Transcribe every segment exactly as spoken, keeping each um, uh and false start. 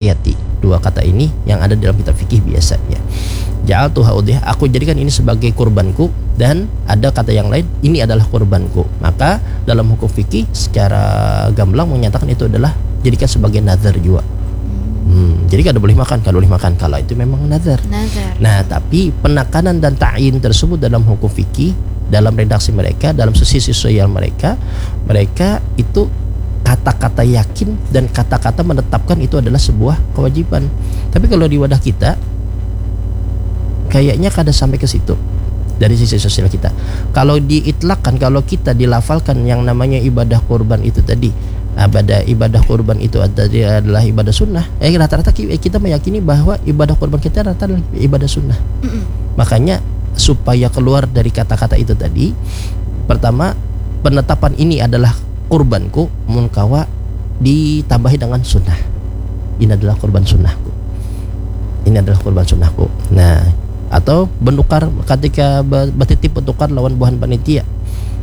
Yati. Dua kata ini yang ada dalam kitab fikih biasanya. Ja'altuha udhiyah, aku jadikan ini sebagai kurbanku, dan ada kata yang lain, ini adalah kurbanku. Maka dalam hukum fikih secara gamblang menyatakan itu adalah jadikan sebagai nazar juga. Hmm, jadi kada boleh makan, kada boleh makan kalau itu memang nazar. Nazar. Nah, tapi penekanan dan ta'yin tersebut dalam hukum fikih, dalam redaksi mereka, dalam sisi sosial mereka, mereka itu kata-kata yakin dan kata-kata menetapkan itu adalah sebuah kewajiban. Tapi kalau di wadah kita, kayaknya kada sampai ke situ dari sisi sosial kita. Kalau diitlakkan, kalau kita dilafalkan yang namanya ibadah kurban itu tadi, ibadah ibadah kurban itu tadi adalah ibadah sunnah. Eh, rata-rata ki- kita meyakini bahwa ibadah kurban kita rata adalah ibadah sunnah. Mm-mm. Makanya supaya keluar dari kata-kata itu tadi, pertama, penetapan ini adalah kurbanku, mun kawa ditambahi dengan sunnah. Ini adalah kurban sunnahku. Ini adalah kurban sunnahku. Nah, atau benukar ketika be- betitip benukar lawan buhan panitia.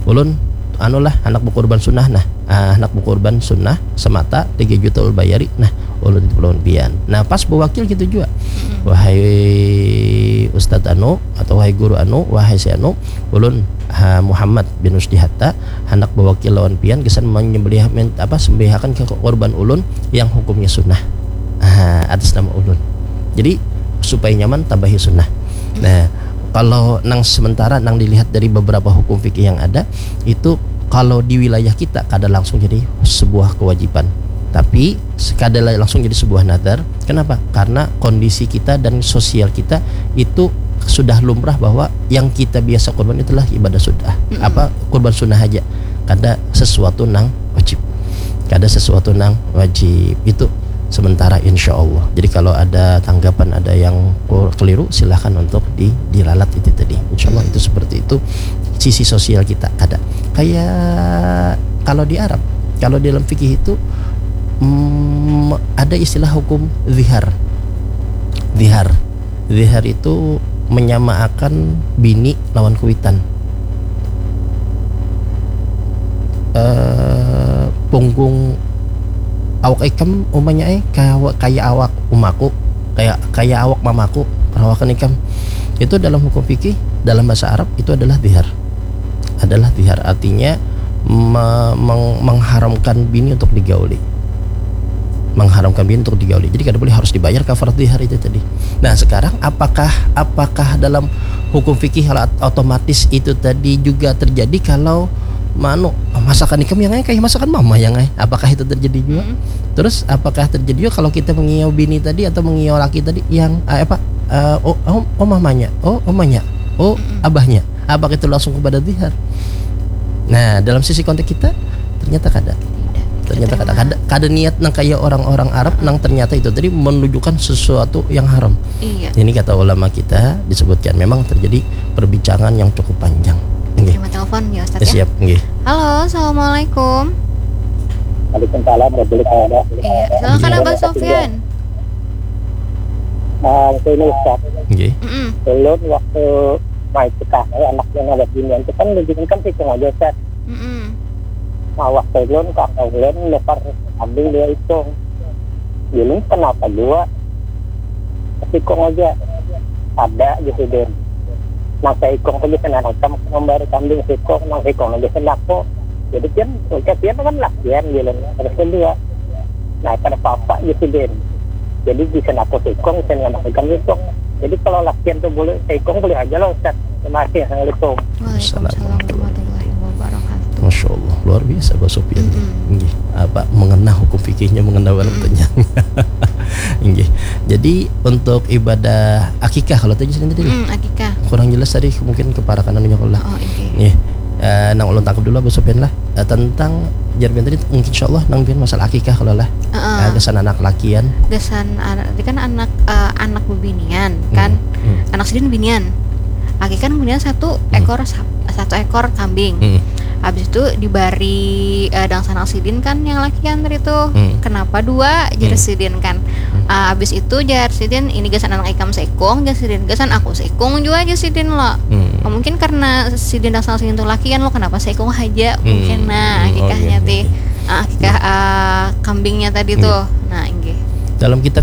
Ulun anulah anak bekurban sunnah nah. Ah, anak bekurban sunnah semata tiga juta ul bayari nah. Ulun itu lawan pian. Nah, pas bewakil gitu juga. Wahai Ustadz anu atau wahai guru anu, wahai si anu, ulun ha, Muhammad bin Rusdi Hatta hendak bewakil lawan pian gasan menyembelih men- apa sembelihakan ke korban ulun yang hukumnya sunnah. Ah, atas nama ulun. Jadi supaya nyaman tambahi sunnah. Nah, kalau nang sementara nang dilihat dari beberapa hukum fikih yang ada itu kalau di wilayah kita kada langsung jadi sebuah kewajiban. Tapi kada langsung jadi sebuah nazar. Kenapa? Karena kondisi kita dan sosial kita itu sudah lumrah bahwa yang kita biasa kurban itulah ibadah sunnah. Mm-mm. Apa kurban sunnah aja. Kada sesuatu nang wajib. Kada sesuatu nang wajib itu sementara insya Allah. Jadi kalau ada tanggapan ada yang kur- keliru silahkan untuk di, diralat itu tadi. Insya Allah itu seperti itu sisi sosial kita ada. Kayak kalau di Arab, kalau di dalam fikih itu mm, ada istilah hukum zihar. Zihar. Zihar itu menyamaakan bini lawan kuitan. Eh, punggung awak ikam umanya eh kaya, kaya awak umaku, kaya kaya awak mamaku, perawakan ikam. Itu dalam hukum fikih, dalam bahasa Arab itu adalah zihar. Adalah zihar artinya me- meng- mengharamkan bini untuk digauli. Mengharamkan bini untuk digauli. Jadi kada boleh harus dibayar kafarat zihar itu tadi. Nah, sekarang apakah apakah dalam hukum fikih otomatis itu tadi juga terjadi kalau manu masakan ikam yang ai kayak masakan mama yang ai apakah itu terjadi juga Hmm. Terus apakah terjadi juga kalau kita mengiau bini tadi atau mengiau laki tadi yang eh, apa eh, oh, oh oh mamanya oh omanya oh Mm-mm. Abahnya apakah itu langsung kepada zihar? Nah, dalam sisi konteks kita ternyata kada. Tidak. Ternyata kada Terima. kada, kada niat nang kayak orang-orang Arab nang ternyata itu tadi menunjukkan sesuatu yang haram. Iya. Ini kata ulama kita disebutkan memang terjadi perbincangan yang cukup panjang. Nggih. Terima telepon ya Ustaz Ya, ya. Siap, nggih. Halo, assalamualaikum. Waalaikumsalam warahmatullahi wabarakatuh. Iya, silakan Iya, Abah Pak Sofyan. Nah, itu ini Ustaz. Nggih. Mm-mm. Ulun waktu main kita, eh, anaknya ngawas binian itu kan lebih kan sih aja Ustaz. Mm-mm. Nah, waktu ulun kakak ulun nukar kambing dua ikung. Ulun kenapa dua? Sikung aja. Ada gitu deh. Nah, seikung aja kena rekam memberi kambing sikung, nah sikung aja kena aku. Jadi kan, oke, dia kan lakian ulun. Terus kedua, nah, kada apa-apa gitu deh. Jadi bisa aku sikung, bisa anak rekam sikung. Jadi kalau lakian tuh boleh seikung boleh aja lah Ustaz. Terima kasih. Assalamualaikum. Waalaikumsalam warahmatullahi wabarakatuh. Masya Allah, luar biasa Pak Sofyan. Mm-mm. Nggih. Apa mengena hukum fikihnya mengena banget Mm-mm. tanya. Nggih. Jadi untuk ibadah akikah kalau tadi sini tadi Mm, akikah. kurang jelas tadi mungkin keparakan anunya kalau lah. Oh, oke. Nggih. Eh, nang ulun tangkap dulu Pak Sofyan lah. Eh, tentang jarbian tadi mungkin insya Allah nang bian masalah akikah kalau lah. Heeh. Eh, gasan anak lakian. Gasan anak, tadi kan anak eh, anak bebinian kan. Hmm. Anak sidin binian. Akikah binian satu Hmm. ekor sap- satu ekor kambing. Hmm. Habis itu dibari eh, dangsanak sidin kan yang lakian tadi tuh. Hmm. Kenapa dua? Jar Hmm. Sidin kan. Hmm. Ah, habis itu jar Sidin ini gasan anak ikam seikung, jar Sidin gasan aku seikung juga jar Sidin lo. Hmm. Oh, mungkin karena Sidin dangsanak Sidin tuh lakian lo kenapa seikung aja? Hmm. Mungkin nah Hmm, oh, akikahnya iya, tih. iya. Ah, akikah ah, kambingnya tadi Iya. Tuh. Nah, inggih. Dalam kitab